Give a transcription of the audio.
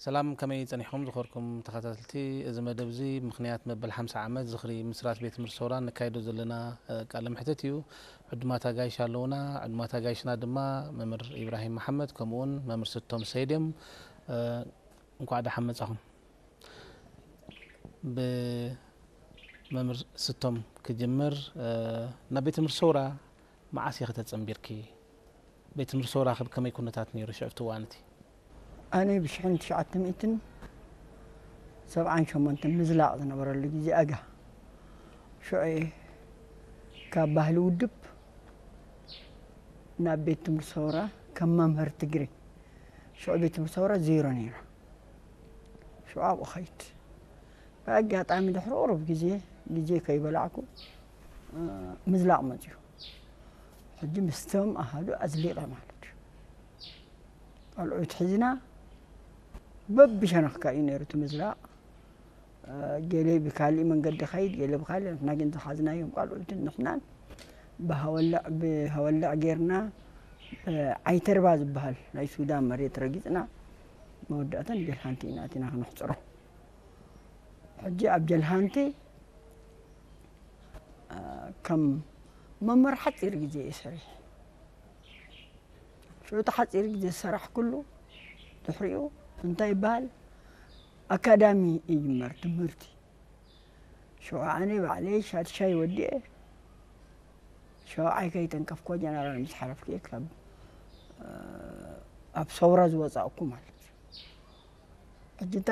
ሰላም፣ ከመይ ጸኒሕኩም ዝኸርኩም ተኸታተልቲ? እዚ መደብ እዚ ምኽንያት መበል ሓምሳ ዓመት ዝኽሪ ምስራት ቤት ትምህርቲ ሰውራ ነካይዶ ዘለና፣ እ፣ ቃለ መሕትት እዩ። ዕዱማት ኣጋይሽ ኣለዉና። ዕዱማት ኣጋይሽና ድማ መምህር ኢብራሂም መሓመድ ከምኡውን መምህር ስቶም ሰይድ እዮም። እ፣ እንኳዕ ደሓን መጻኹም። ብመምህር ስቶም ክጅምር፣ እ፣ ናብ ቤት ትምህርቲ ሰውራ መዓስ ኢኺ ተጸንቢርኪ? ቤት ትምህርቲ ሰውራ ከ ከመይ ኩነታት ነይሩ ሽዑ ኣብቲ እዋን እቲ? ኣነ ብሽሕን ትሽዓተ ሚእትን ሰብዓን ሸሞንተን ምዝላቕ ዝነበረሉ ግዜ ኣጋ ሽዑ እየ ካብ ባህሊ ውድብ ናብ ቤት ትምህርቲ ሰውራ ከም መምህር ትግሪ። ሽዑ ቤት ትምህርቲ ሰውራ ዜሮ ነይሩ። ሽዑ ኣብኡ ኸይድ። ብኣጋጣሚ ድሕሪ ቁሩብ ግዜ፣ ግዜ ከይበላዕኩ፣ እ፣ ምዝላቕ መጽዩ። ሕጂ ምስቶም ኣሃዱ ኣዝሊቐ ማለት እዩ። ቆልዑት ሒዝና በብሸነኽካ እዩ ነይሩ እቲ ምዝላቕ። እ፣ ገለ ብካሊእ መንገዲ ኸይድ፣ ገለ ብካሊእ፣ ንሕና ግን ዝሓዝናዮም ቆልዑትን ንሕናን ብሃወልዕ፣ ብሃወልዕ ጌርና፣ እ፣ ዓይተርባ ዝበሃል ናይ ሱዳን መሬት ረጊጽና፣ መወዳእታ ንጀልሃንቲ ኢና ኣቲና ክነሕጽሮ። ሕጂ ኣብ ጀልሃንቲ፣ እ፣ ከም መምህር ሓጺር ግዜ እየ ሰሪሐ። ሽዑ እቲ ሓጺር ግዜ ዝሰራሕኩሉ ድሕሪኡ እንታይ ይበሃል? ኣካዳሚ ይጅመር ትምህርቲ። ሽዑ ኣነ ባዕለይ ሻድሻይ ወዲኤ ሸውዓይ ከይተንከፍኮ ጀነራል ምስ ሓለፍኩ እየ ካብ፣ እ፣ ኣብ ሰውራ ዝወጻእኩ ማለት እዩ። ሕጂ እንታይ